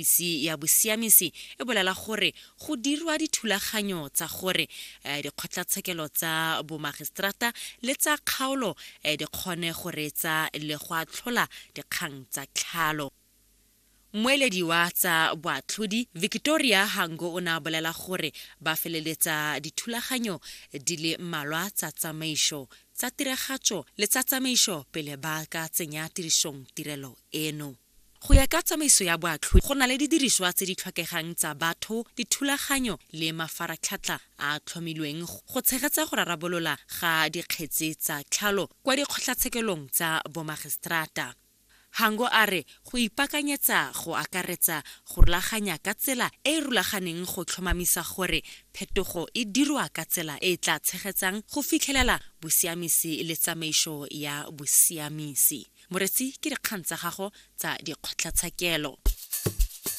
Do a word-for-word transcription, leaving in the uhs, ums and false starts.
Ofisi ya bosiamisi e bolela gore go dirwa dithulaganyo tsa gore eh, dikgotlatshekelo tsa bomagiseterata le tsa kgaolo eh, di kgone go reetsa le go atlhola dikgang tsa tlhalo. Mmueledi wa tsa boatlhodi Victoria Hango o ne a bolela gore ba feleletsa dithulaganyo di le mmalwa tsa tsamaiso, tsa tiragatso le tsa tsamaiso pele ba ka tsenya tirisong tirelo eno. Go ya ka tsamaiso ya boatlhodi, go na le didiriswa tse di tlhokegang tsa batho, dithulaganyo le mafaratlhatlha a a tlhomilweng go tshegetsa go rarabolola ga dikgetse tsa tlhalo kwa dikgotlatshekelong tsa bomagiseterata. Hango a re go ipaakanyetsa go akaretsa go rulaganya ka tsela e e rulaganeng go tlhomamisa gore phetogo e dirwa ka tsela e e tla tshegetsang go fitlhelela bosiamisi le tsamaiso ya bosiamisi. Moretsi, ke dikgang tsa gago tsa dikgotlatshekelo.